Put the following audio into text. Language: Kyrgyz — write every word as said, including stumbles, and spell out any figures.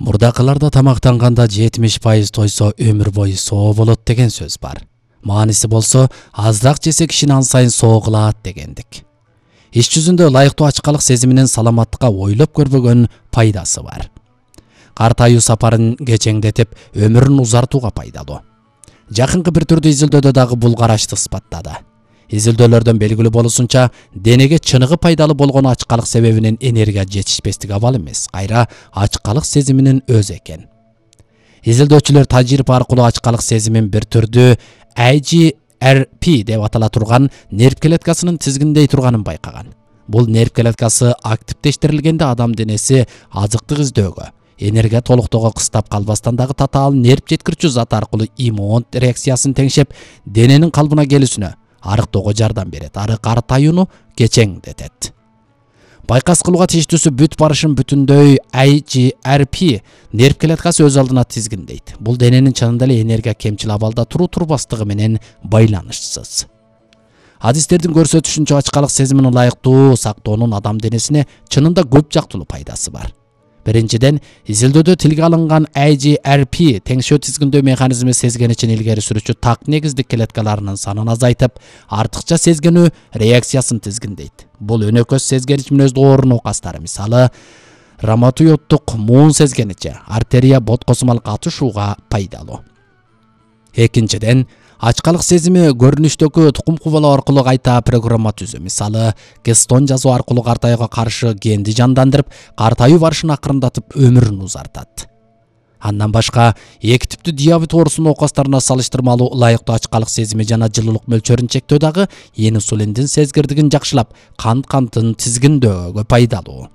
Мурдакыларда тамактанганда жетимиш пайыз тойсо өмүр бою соо болот деген сөз бар. Мааниси болсо, азыраак жесе кишини ан сайын соо кылат дегендик. Иш жүзүндө ылайыктуу ачкалык сезиминин саламаттыкка ойлоп көрбөгөн пайдасы бар. Картайуу сапарын кечеңдетип, өмүрүн узартууга пайдалуу. Жакынкы бир түрдүү изилдөөдө дагы бул карашты ысбаттады. Изилдөөлөрдөн белгилүү болушунча, денеге чыныгы пайдалуу болгон ачкалык себебинен энергия жетишпестик абал эмес, кайра ачкалык сезиминин өзү экен. Изилдөөчүлөр тажрыйба аркылуу ачкалык сезимин бир түрдүү А G R P деп атала турган нерв клеткасынын тизгиндей турганын байкаган. Бул нерв клеткасы активдештирилгенде адам денеси азыктык издөөгө, энергия толуктоого кыстап калбастан дагы татаал нерв жеткирүүчү зат аркылуу иммун реакциясын теңшеп, дененин калыбына келүүсүнө, арыктоого жардам берет, ары картаюуну кечеңдетет. Байкас кылууга тийиштүүсү бүт барышын бүтүндөй А G R P нерв клеткасы өз алдына тизгиндейт. Бул дененин чынында эле энергия кемчил абалда туруу турбастыгы менен байланышсыз. Адистердин көрсөтүшүнчө ачкалык сезимин ылайыктуу сактоонун адам денесине чынында көп жактылуу пайдасы бар. Биринчиден, изилдөөдө тилге алынган А G R P теңшөө тизгиндөө механизми сезгеничин илгери сүрүүчү так негиздик клеткаларынын санын азайтып, артыкча сезгенүү реакциясын тизгиндейт. Бул өнөкөс сезгенич менен доорун окастары, мисалы, роматоиддук муун сезгеничи, артерия боткосумал катышууга пайдалуу. Экинчиден, ачкалык сезими көрүнүштөгү тукум кубалоо аркылуу кайта программа түзүү, мисалы, кестон жазуу аркылуу картаюуга каршы генди жандандырып, картаюу барышын акырындатып, өмүрүн узартат. Андан башка, эки типтүү диабет оорусунун окастарына салыштырмалуу ылайыктуу ачкалык сезими жана жылуулук мөлчөрүн чектөө дагы инсулиндин сезгирдигин жакшылап, кант кантын тизгиндөөгө пайдалуу.